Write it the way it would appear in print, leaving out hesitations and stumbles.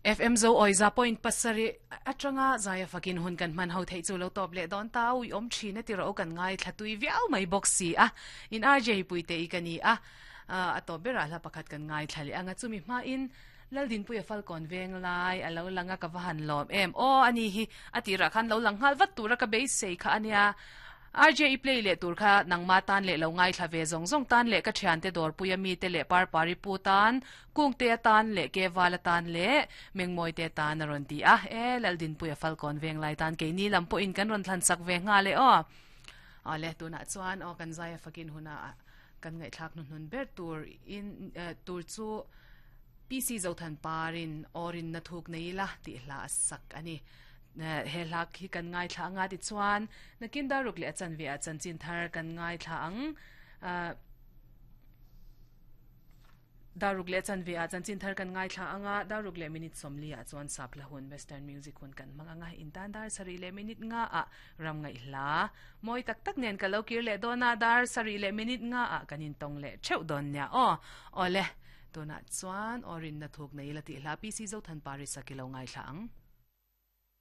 FM zo awi za point pasarih atanga zaia fakin hun kan hman ho theih chu lo tawp leh dawn ta ui awm thin a ti rawh u kan ngaithla tui viau mai bawk si a in RJ Puite i ka ni a a tawp berah hla pakhat kan ngaithla leh anga chumi hmain Laldinpuia Falkawn veng lai a lo lang a ka va han lawm em aw ani hi a tirah khan lo lang nghal vat tura ka beisei kha ania. RJ i play leh tur kha nangma tan leh lo ngaithla ve zawng zawng tan leh ka thiante dawrpuia mite leh Parpari pu tan, Kungtea tan leh Kevala tan leh Mengmawite tan a rawn ti a. E Laldinpuia Falkawn Venglai tan keini lam pawhin kan rawn thlan sak ve nghal e aw. Awle tunah chuan aw kan zaia fakin huna kan ngaihthlak hnuhnun ber tur in tur chu PC Zothan Parin aw rinna thuk nei ila tih hla a sak a ni. He hla khi kan ngaithla anga tichuan nakin daruk leh a chanve ah chanchin thar kan ngaithla ang. Daruk leh a chanve ah chanchin thar kan ngaithla anga daruk leh minute 40 ah chuan sap hla hun western music hun kan hmang anga intan dar sarih leh minute nga ah ram ngaih hla mawi tak tak nen ka lo kir leh dawn a dar sarih leh minute nga ah kan intawng leh theuh dawn nia aw. Awle tunah chuan aw rinna thuk nei ila tih hla PC Zothanpari sak i lo ngaithla ang.